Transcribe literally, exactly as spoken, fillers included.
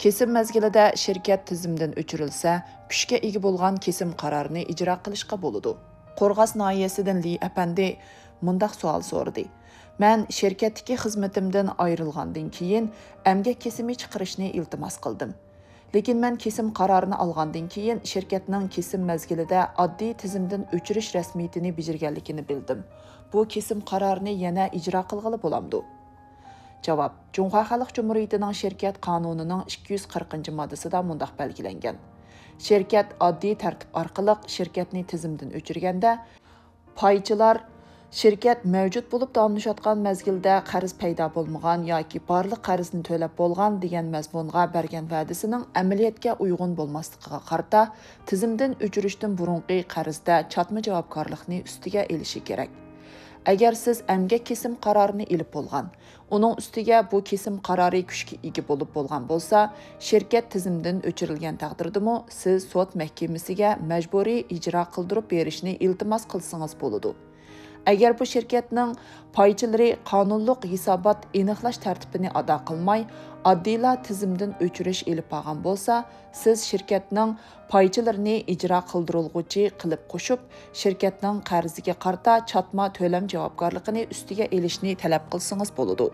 كېسىم مەزگىلىدە شىركەت تىزىمدىن ئۆچۈرۈلسە، كۈچكە ئىگە بولغان كېسىم قارارىنى ئىجرا قىلىشقا بولىدۇ. قورغاس ناھىيەسىدىن لى ئەپەندى مۇنداق سوئال سورىدى: مەن شىركەتتىكى خىزمىتىمدىن ئايرىلغاندىن كېيىن، ئەمگەك كېسىمى چىقىرىشنى ئىلتىماس قىلدىم. لېكىن مەن كېسىم قارارىنى ئالغاندىن كېيىن، شىركەتنىڭ كېسىم مەزگىلىدە ئاددىي تىزىمدىن ئۆچۈرۈش رەسمىيىتىنى بېجىرگەنلىكىنى بىلدىم. بۇ كېسىم قارارىنى يەنە ئىجرا قىلغىلى بولامدۇ؟ جاۋاب: جۇڭخۇا خەلق جۇمھۇرىيىتىنىڭ شىركەت قانۇنىنىڭ ئىككى يۈز قىرىقىنچى ماددىسىدا مۇنداق بەلگىلەنگەن: شىركەت ئاددىي تەرتىپ ئارقىلىق شىركەتنى تىزىمدىن ئۆچۈرگەندە، پايچىلار شىركەت مەۋجۇت بولۇپ داۋاملىشىۋاتقان مەزگىلدە قەرز پەيدا بولمىغان ياكى بارلىق قەرزنى تۆلەپ بولغان دېگەن مەزمۇنغا بەرگەن ۋەدىسىنىڭ ئەمەلىيەتكە ئۇيغۇن بولماسلىقىغا قارىتا، تىزىمدىن ئۆچۈرۈشتىن بۇرۇنقى قەرزدە چاتما جاۋابكارلىقنى ئۈستىگە ئېلىشى كېرەك. ئەگەر سىز ئەمگەك كېسىم قارارىنى ئېلىپ بولغان، ئۇنىڭ ئۈستىگە بۇ كېسىم قارارى كۈچكە ئىگە بولۇپ بولغان بولسا، شىركەت تىزىمدىن ئۆچۈرۈلگەن تەقدىردىمۇ سىز سوت مەھكىمىسىگە مەجبۇرىي ئىجرا قىلدۇرۇپ بېرىشنى ئىلتىماس قىلسىڭىز بولىدۇ. ئەگەر بۇ شىركەتنىڭ پايچىلىرى قانۇنلۇق ھېسابات ئېنىقلاش تەرتىپىنى ئادا قىلماي، ئاددىيلا تىزىمدىن ئۆچۈرۈش ئېلىپ بارغان بولسا، سىز شىركەتنىڭ پايچىلىرىنى ئىجرا قىلدۇرۇلغۇچى قىلىپ قوشۇپ، شىركەتنىڭ قەرزىگە قارىتا چاتما تۆلەم جاۋابكارلىقىنى ئۈستىگە ئېلىشنى تەلەپ قىلسىڭىز بولىدۇ.